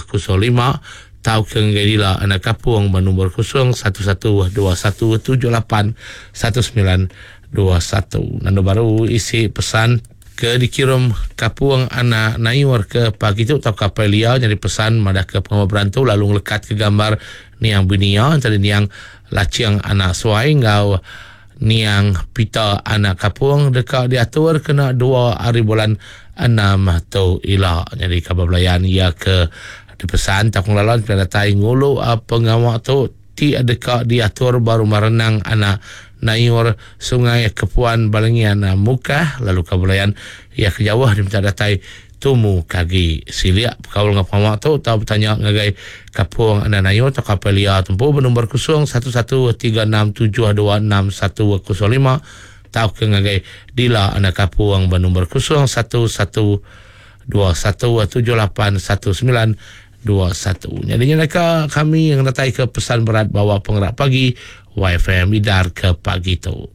105 tauka ngagai Dila anak Kapung ba nombor 011 21 78 1921. Nandu baru isi pesan ke dikirum Kapung anak Nayur ke pagi tu tauka apai Lia nyadi pesan madahka pengawa berantu lalu ngelekatka gambar niang bini iya entara niang Laching anak Suai enggau Niang Peter anak Kapung deka diatur kena dua ari bulan Enam tu ila. Nyadi kaban belayan iya ke dipesan tauka ngelalan pia datai ngulu pengawa tu ti deka diatur ba Rumah Renang anak Nayur Sungai Kepuan Balingian Mukah lalu kaban belayan iya ke jauh diminta datai Tumu ke agi silik bekaul enggau pengawa tu tau betanya ngagai Kapung Enda Nayu tauka Apai Lia tempu ba nombor 0113672605 tauka ngagai Dila Enda Kapung ba nombor 0112178191. Nyadi nya deka kami ngenataika pesan berat bawa pengerak pagi YFM idar ke pagi tu.